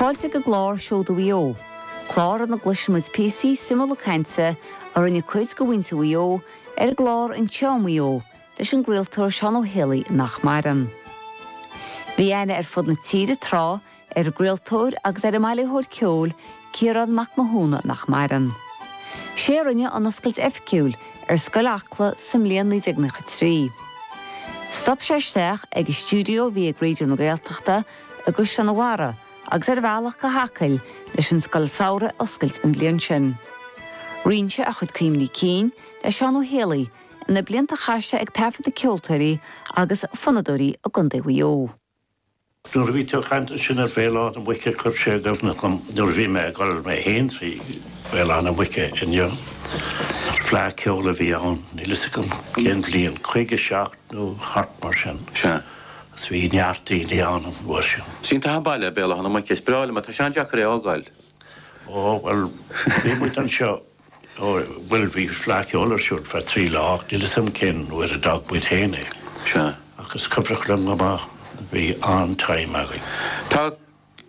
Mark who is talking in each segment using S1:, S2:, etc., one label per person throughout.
S1: Fáilte ag an gclár Seoda Mhaigh Eo, clár ina gcloisfimid píosaí suimiúla cainte a rinne cuid de mhuintir Mhaigh Eo ar an gclár Anseo i Maigh Eo leis an gcraoltóir Seán Ó Héalaí nach maireann. Bhí aithne ar fud na tíre tráth ar an gcraoltóir agus ar an mbailitheoir ceoil Ciarán Mac Mathúna nach maireann. Sé a rinne an oscailt oifigiúil ar Scoil Acla sa mbliain 1993. Stop sé isteach ag an stiúideo a bhí ag Raidió na Gaeltachta i gCaisleán an Bharraigh agus ar a bhealach go hAcaill leis an scoil samhraidh a oscailt an bhliain sin. Roinn sé a chuid cuimhní cinn le Seán Ó Héalaí ar na blianta a chaith sé ag taifeadadh ceoltóirí agus fonnadóirí i gContae Mhaigh Eo.
S2: Nuair a bhí tú ag caint ansin ar Bhéal Átha na Muice chuir sé i gcuimhne dhom nuair a bhí mé ag dul mé féin trí Bhéal Átha na Muice inniu. Fleadh ceoil a bhí ann, níl fhios agam cén bhliain, 57 nó thart mar sin.
S3: Sea.
S2: Agus bhí neart daoine ann an uair sin.
S3: Is iontach an baile é Béal Átha na Muice, is breá liom é, tá sé an-deacair é a fhágáil.
S2: Ó, bhuel, bhí muid anseo. Ó, bhuel, bhí Fleadh Cheoil ar siúl feadh 3 lá ach níl 'fhios a'm cén uair a d'fhág muid féin é.
S3: Sea.
S2: Ach is cuimhneach liom go maith, bhí an-time againn.
S3: Tá,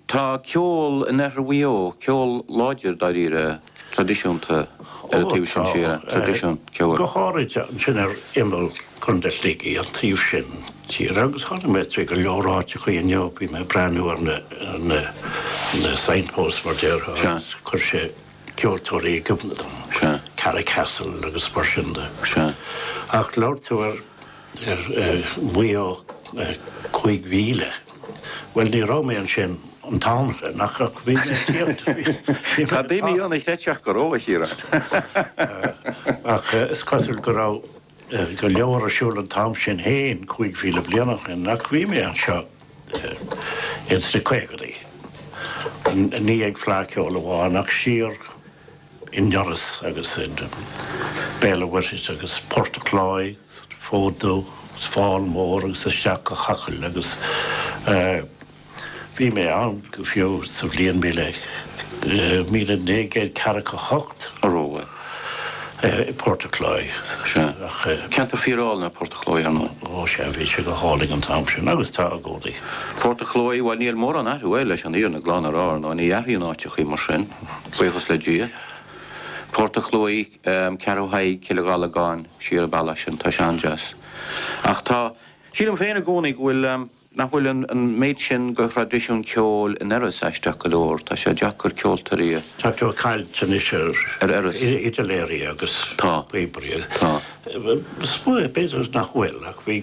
S3: tá ceol in oirthear Mhaigh Eo, ceol láidir dáiríre, traidisiúnta ar an taobh sin tíre, traidisiún ceoil.
S2: Go háirid ansin ar imeall Chontae Shligigh, an taobh sin tíre, agus tháinig mé trí go leor áiteachaí inniu, bhí mé ag breathnú ar na, ar na, na signposts mar déarfá agus chuir sé ceoltóirí i gcuimhne dom,
S3: Sea.
S2: Carracastle agus mar sin de.
S3: Sea.
S2: Ach labhair tú ar ar Mhaigh Eo 5000. Bhuel, ní raibh mé ansin an t-am sin ach ach bhí mé ag tíocht, bhí mé
S3: Tá daoine ann a chreidfeadh go raibh, a Chiaráin.
S2: Ach is cosúil go raibh go leor ar siúl an t-am sin féin, 5,000 bliain ó shin, ach bhí mé anseo ins na caogadaí. Ní ag Fleadh Cheoil amháin ach siar i nDurlas agus i Béal an Mhuirthead agus Port a' Chláí, Fód Dubh agus Fál Mór agus isteach go hAcaill agus Bhí mé ann go fiú sa bhliain 1948.
S3: A raibh?
S2: I bPort a' Chláí.
S3: Sea. Ceantar fíor-álainn é Port a' Chláí, ar ndóigh.
S2: Ó sea, bhí sé go hálainn an t-am sin agus tá i gcónaí.
S3: Port a' Chláí, bhuel níl mórán athrú air leis an fhírinne glan a rá, ar ndóigh, ní athraíonn áiteachaí mar sin, buíochas le Dia. Port a' Chláí, Ceathrú Thaidhg, Cill an Ghallagáin, siar an bealach sin, tá sé an-deas. Ach tá, sílim féin i gcónaí go bhfuil, Nach bhfuil an méid sin de thraidisiún ceoil in Iorras aisteach go leor? Tá sé deacair ceoltóirí a.
S2: Tá tú ag caint anois ar
S3: Ar Iorras.
S2: fhidiléirí agus
S3: Tá.
S2: píobairí.
S3: Tá.
S2: B'fhéidir nach bhfuil ach bhí.